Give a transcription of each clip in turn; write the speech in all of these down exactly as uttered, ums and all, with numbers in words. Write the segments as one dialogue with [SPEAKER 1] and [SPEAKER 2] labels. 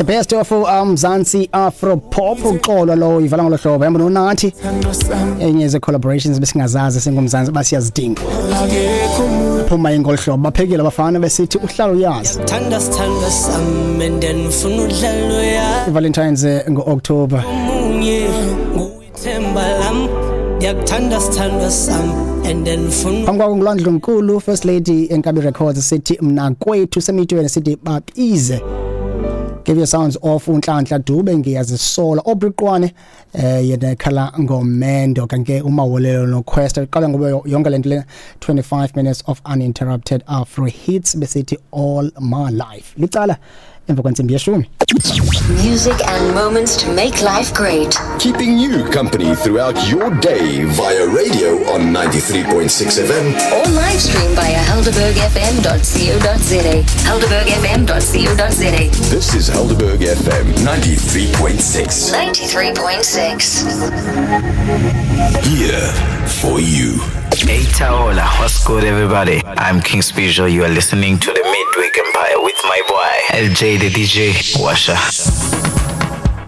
[SPEAKER 1] The best of Mzansi Afro Pop uxolo lo ivala ngolo hlobo yamba nonathi enye ze collaborations besingazazi singumzansi basiyazidinga phuma ingol hlobo baphekile abafana besithi uhlalo uyazi
[SPEAKER 2] Thanda sithanda sami and then ufuna udlalo ya
[SPEAKER 1] Valentine's ngo-October
[SPEAKER 2] omunye nguithemba lam ndiyakuthanda sithanda sami and then ufuna
[SPEAKER 1] phambi kwakho nguLwandle Nkulu First Lady Enkabi Records sithi mna kwethu semitweni sithi babize. Give your sounds off uNhlanhla Dube ngiyazisola Obriqwane eh yena ekhala ngomendo kanke uMawolelo noQuest iqala ngoba yonke lento le twenty-five minutes of uninterrupted Afro hits besithi all my life licala emva kwentsimbi yeshumi.
[SPEAKER 3] Music and moments to make life great.
[SPEAKER 4] Keeping you company throughout your day via radio on ninety-three point six F M
[SPEAKER 3] or live stream via helderberg f m dot co dot za. helderberg f m dot co dot za.
[SPEAKER 4] This is Helderberg F M ninety-three point six.
[SPEAKER 3] ninety-three point six.
[SPEAKER 4] Here for you.
[SPEAKER 5] Hey Taola, what's good everybody? I'm King Special. You are listening to the Midweek Empire with my boy L J the D J Washa.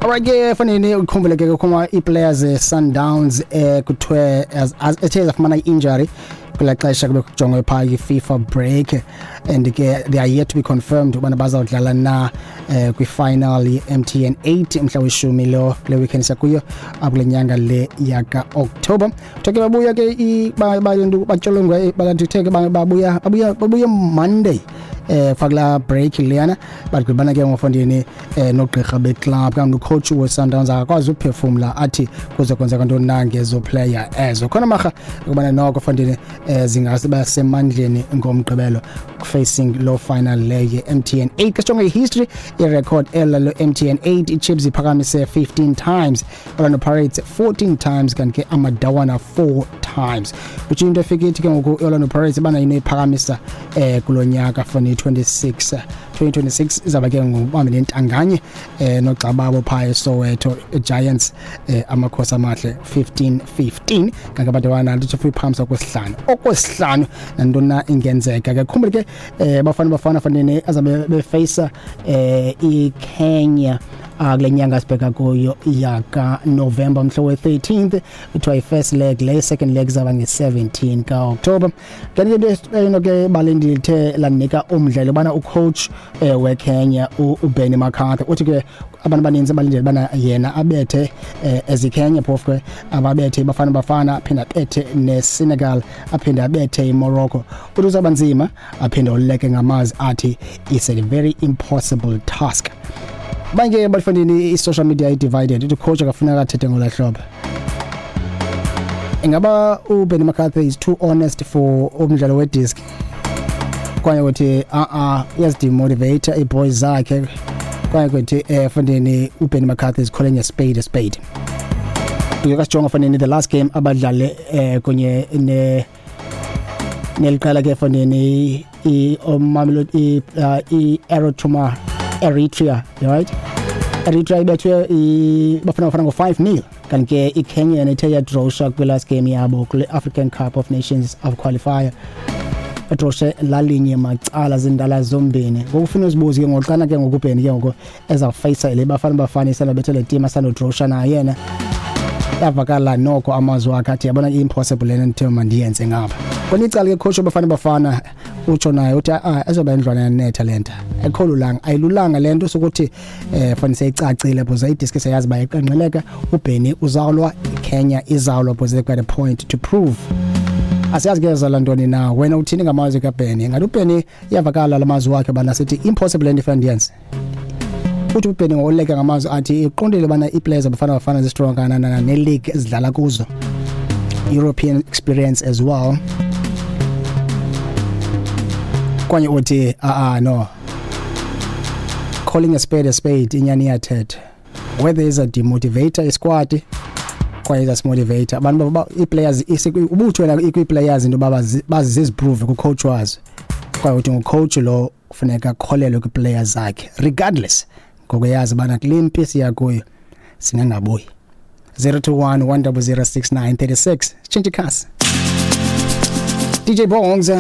[SPEAKER 1] Alright ke fanele ukhumbule ke kuma i-players Sundowns eh kuthiwe as ethe zafumana i-injury kula xesha kube kujongwe pha i-FIFA break and ke they are yet to be confirmed ubana bazawudlala na eh, kwi-final ye-M T N eight mhla weshumi lo kule weekend sakuyo akule nyanga le yaka October. Kuthiwe babuya ke batsholongwe balantu babuya babuya babuya Monday eh fakula break leyana bagqibana ke ngofondini eh nogqirha beclub kanti ucoach we Sundowns akakwazi ukuphefumula athi kuzokwenzeka ntoni na ngezo player ezo khona marha ukubana noko fondini eh zingase basemandleni ngomgqibelo facing low final le ye M T N eight. Ke history i record ela lo M T N eight iChiefs iphakamise fifteen times, Orlando Pirates fourteen times kanti ke Amadawana four times, which into efike ithi ke ngoku Orlando Pirates bana yini iphakamisa eh kulonyaka for twenty-six twenty twenty-six izaba ke ngubambe nentanganye eh nogxababo pha eSoweto Giants eh amakhosi amahle fifteen fifteen kanti abantwana lithi free pumps okwesihlanu okwesihlanu nantona ingenzeka ke khumbule ke eh bafana bafana fanele azabe beface eh iKenya kule nyanga sibheka kuyo yaka November mhla we thirteenth kuthiwa i-first leg le second leg zaba nge-seventeen ka-October. Kanti into eno ke balindithe lanika umdlalo bana ucoach eh, weKenya uBenny McCarthy uthi ke abantu abaninzi abalindele bana yena abethe eh, eziKenya phofu ke ababethe bafana bafana aphinda abethe neSenegal aphinda abethe iMorocco uthi uzabanzima aphinda oleke ngamazwi athi it's a very impossible task. Banke bafundini i-social media i-divided ithi coach akafuneka athethe ngolahlobo. Ingaba uBenny McCarthy is too honest for umdlalo wedisc kwaye uthi a a uyazidemotivate i-boys zakhe kwaye kuthi eh fundini uBenny McCarthy is calling a spade a spade. Uyakasijonga fundini the last game abadlale eh kunye ne neliqala ke fundini i Mamelodi i Eritrea Eritrea right Eritrea ibethwe ibafana bafana ngo five nil kanti ke iKenya yona ithe yadrosha kwi last game yabo kule African Cup of Nations of qualifier edroshe lalinye macala zindala zombini. Ngokufuna uzibuze ke ngoqana ke ngokubheni ke ngoku ezawufayisa le bafana bafana isalobethe le team asanodrosha naye yena yavakala noko amazwi akhe athi yabona impossible lena ndithe mandiyenze ngapha. Kona icala ke coach abafana bafana utsho naye uthi ah ezoba indlwana yanetha lento ekholulanga ayilulanga lento sokuthi eh fanele seyicacile because idisk seyazi bayiqanqeleka uBenny uzawulwa iKenya izawulwa because they've got a point to prove. Asiyazi ke zalantoni na wena uthini ngamazwi kaBenny? Ngathi uBenny iyavakala lamazwi wakhe bana sithi impossible lento fandiyenze. Uthi uBenny ngoleka ngamazwi athi iqondile bana iplayers abafana bafana zistrong kanana ne league ezidlala kuzo European experience as well. Kwanye uthi ah ah no calling a spade a spade inyani iyathetha whether is a demotivator isquad kwaye is a motivator abantu ba iplayers ubuthu wena ikwi-players into baziziprove ku coach wazo kwaye uthi ngucoach lo kufuneka akholelwe kwi-players zakhe regardless ngokuyazi bana kule mpi siya kuyo singangabuyi. Zero two one one double zero six nine thirty six change cast D J Bongs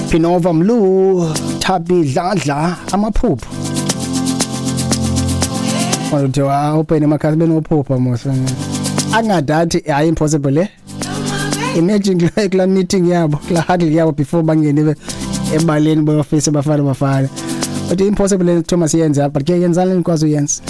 [SPEAKER 1] Pinova Mlu Thabi Dladla amaphupho. Kuthiwa open emakhasi benophupha mos. Angadathi hayi, impossible eh. Imagine kula kula meeting yabo, kula huddle yabo before bangene ebaleni boyofisa Bafana Bafana. But impossible le Thomas yenze, but ke yenzani, nikwazi uyenza.